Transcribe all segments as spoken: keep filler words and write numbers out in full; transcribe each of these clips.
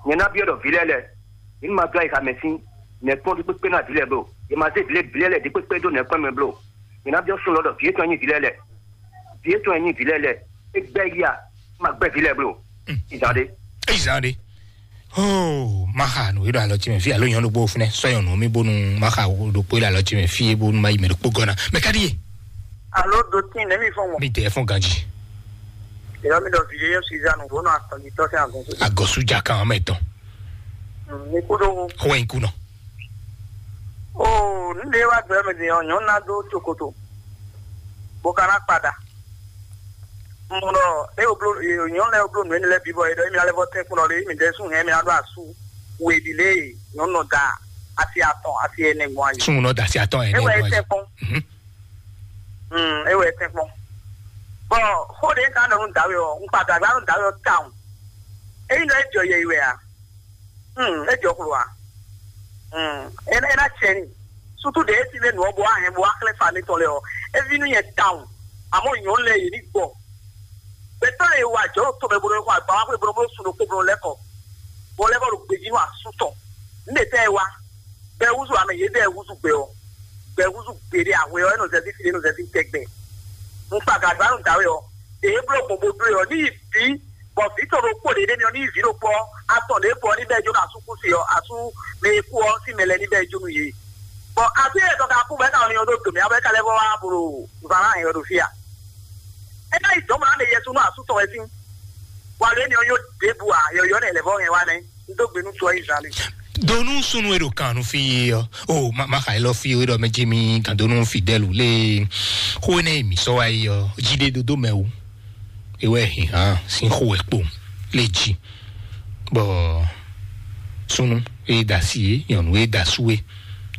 Nyɛ ná byɔ́ ɖɔ vǐ lɛ́ɛ lɛ́ɛ, yě ní ma dó ayixa mɛ sín nɛ̌kpɔ́n ɖi kpékpé ná vǐ lɛ́ɛ bló. Yě ma zé vǐ lɛ́ɛ, vǐ lɛ́ɛ lɛ́ɛ ɖi kpékpé dó nɛ̌kpɔ́n mɛ bló. Yě ná byɔ́ súnnu lɔ ɖɔ vǐ étɔn nyí vǐ lɛ́ɛ lɛ́ɛ. Vǐ étɔn nyí vǐ lɛ́ɛ lɛ́ɛ. É gbɛ́ yí a? Ma gbɛ́ vǐ lɛ́ɛ bló. Ìzan ɖé. Eyi zan ɖe. Oh, maxa nǔ e ɖo alɔ ce mɛ fí alo nyɔnu ɖokpó fúnɛ sɔ nyɔnu mi bónú maxa ɖokpó e ɖo alɔ ce mɛ fí e bónú ma yi mɛ ɖokpó gɔna mɛ ka ɖi ye. Alo dotin nɛmi fɔn mɔ. Mi tɛ fɔn ganji. Ìyá mi ɖɔ vǐ yé Suzanne wò nɔ atɔnjitɔ sɛn agɔnso. Agɔsu ja kan ɔmɛ tɔn. Mi kú ɖó. Xɔ in kú nɔ. Oo, nílé wá gbɛ mɛ din ɔ nyɔnu ná dó tsokoto. Bó ka ná kpada. Mɔ ɖɔ e wo blo nyɔnu lɛ wo blo nǔ énɛ́ lɛ́ɛ bǐ bɔ e ɖɔ émi alɛ vɔ tɛ́nkpɔ́n ɖɔ ɖe émi ɖɛ́ sún hɛn mi ná ɖo asú we ɖi lé nyɔnu nɔ da asi atɔn asi ɛnɛ gbɔn ayi. Súnnu nɔ da asi atɔn ɛ E wɛ é nɛ tɛ́nkpɔ́n. Mhm. Mm, e wɛ é tɛ́nkpɔ́n. Bɔn xó ɖe ka nɔ nú dǎwe ɔ, un kpa gǎgá nú dǎwe ɔ tawun. Eyi nɔ e jɔ yɛ yi wɛ a? Hmm, é jɔ xlo a? Hmm, é ná é ná cɛ ni. Sutu ɖe é si lé nǔ ɔ́ bó wá hɛn bó wá xlɛ́ fa mi tɔn lɛ ɔ, é ví nú nyɛ tawun. Àmọ́ nyɔ̌nu lɛ yě ní gbɔ. Gbɛtɔ́ lɛ e wa jɔ̌ ɖo tɔn mɛ bó nɔ xɔ agba wá xwé bó nɔ bó sun ɖokpó bó nɔ lɛ́ kɔ. Bó lɛ́ kɔ ɖo gbejí nú asú tɔn. Nǔ ɖe tɛ́ e wá? Bɛ́ húzú amɛ yě bɛ́ húzú gbɛ ɔ́. Bɛ́ húzú gbeɖé ahwe ɔ́, é nɔ zɛzí fi é nɔ zɛzí tɛgbɛ. Un kpa gǎgbá nú dǎwe ɔ́. Ɖě é bló gbɔn bó dó e ɔ́, ní yi bǐ bɔ vǐ tɔn ɖokpó ɖě ɖ'é mɛ ɔ́ ní yi vǐ ɖokpó ɔ́, atɔn ɖě kɔ ɔ́ ní bɛ́ jó nú asúkúsi ɔ́, asú mɛ e kú ɔ́ sín mɛ lɛ́ɛ ní bɛ́ jó nú yě. Bɔ asú e tɔn ka kú bɔ é ka nɔ nyɔ ɖó dǒ mɛ ɔ́ bɔ é ka lɛ́ vɔ wá blo zǎn ná hɛn ɔ́ ɖo fí a? É ná yi dɔ̌n mɔ ná ɖe yɛsu nú asú tɔn wɛ sín. Wǎ lě ni ɔ́ nyó ɖěbǔ ǎ, yɔ̌yɔ́ nɛ́ lɛ̌ vɔ hɛn wá nɛ́. Un dó gbe nú tɔ́ yi zán lé. Donu sunu e ɖo kan nu fi yi ɔ, o ma ma xa elɔ fi o ɖɔ mɛ jimi gandonu fidèle lé. Xó ne mi sɔ wa yi ɔ, jide dodo mɛ o. Ewɛ hihàn sin xó wɛ kpo lé ji. Bɔ sunu e da si e nyɔnu e da su e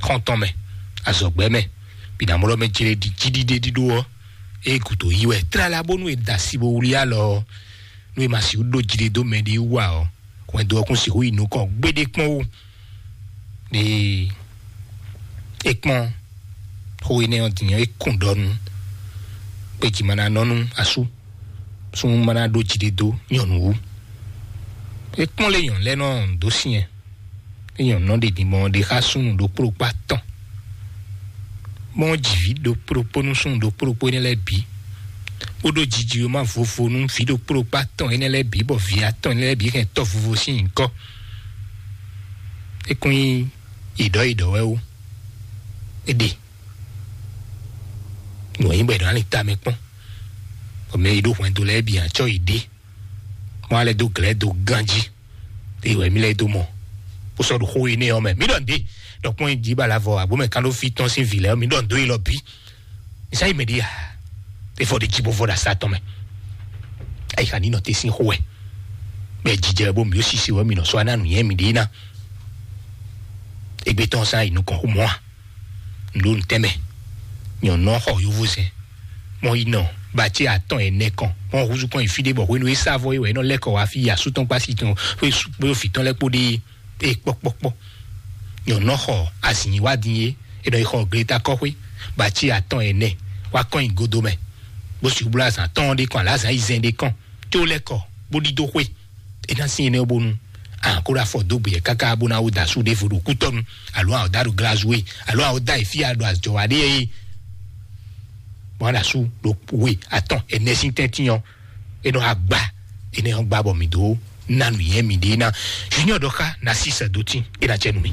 xɔntɔn mɛ azɔgbɛ mɛ binamɔlɔ mɛ jele di jiɖiɖe ɖiɖo ɔ, e gudo yi wɛ tlala bónú e da si bo wlí alɔ ɔ, nú e ma si ɖó jiɖe dó mɛ ɖi wú ǎ ɔ, hwɛndo ɔ́ kún sixú yi nukɔn gbéɖé kpɔ́n ó. Ɖe é kpɔ́n xó énɛ́ ɔ́ din ɔ́, é kún ɖɔ nú gbeji ma ná nɔ nú asú súnnu ma ná ɖó jiɖe dó nyɔ̌nu wú. É kpɔ́n lé nyɔ̌nu lɛ́ɛ nɔ dó syɛn é nyɔ̌nu nɔ ɖe din mɔ ɖe xá súnnu ɖokpó ɖokpó atɔn. Mɔ jǐví ɖokpó ɖokpó nú súnnu ɖokpó ɖokpó énɛ́ lɛ́ɛ bǐ, bó ɖó jiji ma vovo nú vǐ ɖokpó ɖokpó atɔn énɛ́ lɛ́ɛ bǐ, bɔ vǐ atɔn énɛ́ lɛ́ɛ bǐ hɛn tɔ́ vovo sín nyǐkɔ. É kún nyí yěɖɔ́ yěɖɔ́ wɛ ó. É ɖe nǔ e nyí bɔ è nɔ ali tamɛ kpɔ́n, bɔ mɛ e ɖó hwɛndo lɛ́ɛ bǐ acɔ yi ɖe, mɔ alɛ dó glɛ̌ dó ganjí. Eye wɛ mí lɛ́ dó mɔ bó sɔ́ ɖo xó énɛ́ ɔ́ mɛ. Mí ɖɔ nǔɖé, ɖɔ kpɔ́n jí ba la vɔ abǒ mɛ kán ɖó fí tɔn sín vǐ lɛ́ɛ ɔ́, mí ɖɔ nǔɖó élɔ́ bǐ. Nisa yi mɛ ɖi ya, é fɔ ɖe jí bó vɔ ɖo asá tɔn mɛ. Ayi xa ní nɔ te sín xó wɛ. Bɛ jijɛ bó mí ó sisi wɛ mí nɔ sɔ́ aná nǔnyɛ mí ɖe ná. Égbé tɔn sán yi nukɔn xó mɔ́ a? Nǔ ɖo nǔtɛ́ mɛ. Nyɔ̌nu ɔ́ xɔ yovózɛn, mɔ yi nɔ bace atɔn ɛnɛ kɔn, mɔ húzú kɔn yi fí ɖé bɔ hwenu e sá vɔ é wɛ é nɔ lɛ́ kɔ wá fí yi asú tɔn kpó asi tɔn kpó vǐ tɔn lɛ́ɛ kpó ɖe é kpɔ́kpɔ́kpɔ́. Nyɔ̌nu ɔ́ xɔ azǐn yi wá din é, é nɔ yi xɔ gleta kɔ́xwé, bace atɔn ɛnɛ wá kɔn yi godo mɛ, bó sixú bló azǎn tɔn ɖé kɔn alǎ azǎn yi zɛn ɖé kɔn, tó lɛ́ kɔ bó ɖidó xwé. É ná sin énɛ́ bónú a kó ɖo afɔ dó gbeyɛ káká bó ná wó da asú ɖěvo ɖo kútɔ́nu, alo a da ɖo glazue, alo a da yi fí a ɖo azɔ̌ wa ɖe é. Bɔn a ɖo asú ɖo we atɔn ɛnɛ sín tɛ́ntin ɔ́, é nɔ agba énɛ́ ɔ́ gba bɔ mǐ dó ná nǔnyɛ mǐɖée ná. Junior ɖɔ xá ná sí sɛdótín é ná cɛ nú mì.